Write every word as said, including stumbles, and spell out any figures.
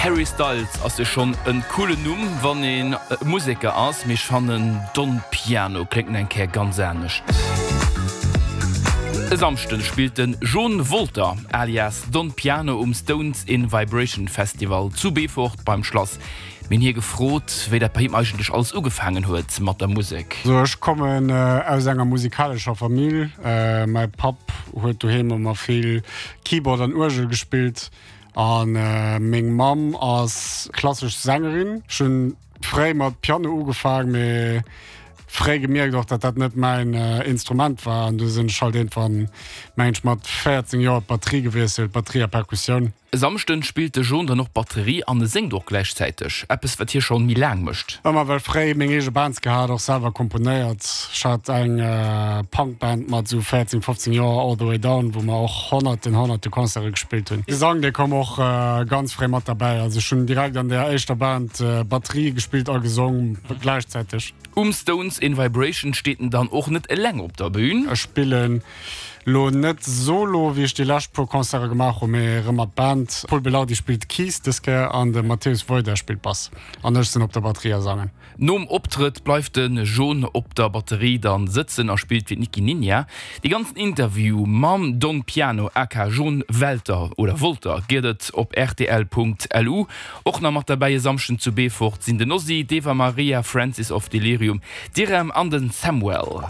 Harry Styles ass jo schonn en coolen Numm, wann een Museker ass, mee ech fannen Don Piano kléngt nach eng Kéier ganz anescht. E Samschden spillt den Jon Wolter alias Don Piano um Stones in Vibration Festival zu Beefort beim Schlass. Mir hunn hie gefrot, wéi dat bei him eigentlech alles ugefaangen huet mat der Musek. Sou, ech kommen aus enger musikalescher Famill. Mäi Papp huet doheem ëmmer vill Keyboard an Uergel gespillt a meng Mamm ass klassesch Sängerin. Ech hunn fréi mat Piano ugefaangen, mee fréi gemierkt och, datt dat net mäin Instrument war an du sinn ech halt iergendwann, mengen ech, mat véierzéng Joer op d'Batterie gewiesselt, Batterie a Perkussioun. E Samschden spillt de Jon dann och Batterie an e séngt och gläichzäiteg, eppes wat hie schonn méi laang mécht. Ëmmer well fréi meng eege Bands gehat, och selwer komponéiert. Ech hat eng Punk-Band mat esou véierzéng, fofzéng Joer, All The Way Down, wou mer och honnerten, honnerte Concerte gespillt hunn. Gesang, dee koum och ganz fréi mat derbäi. Also ech hunn direkt an der éischter Band Batterie gespillt a gesong gläichzäiteg. Um Stones in Vibration steet en dann och net eleng op der Bühn. Ech spillen lo net solo, wéi ech déi lescht puer Concerte gemaach hunn, mee erëm mat Band. Pol Belardi spillt Keys dës Kéier an de Mateusz Wojda spillt Bass an ech sinn op der Batterie a sangen. Nom Optrëtt bleift de Jon op der Batterie dann sëtzen a spillt fir d'Nicky Ninja. Dee ganzen Interview mam Don Piano aka Jon Welter oder Wolter gëtt et op rtl.lu. Och nach mat derbäi e Samschden zu Beefort sinn den Ozzy, d'Eva Maria, Francis of Delirium, d'Irem an den Samuel.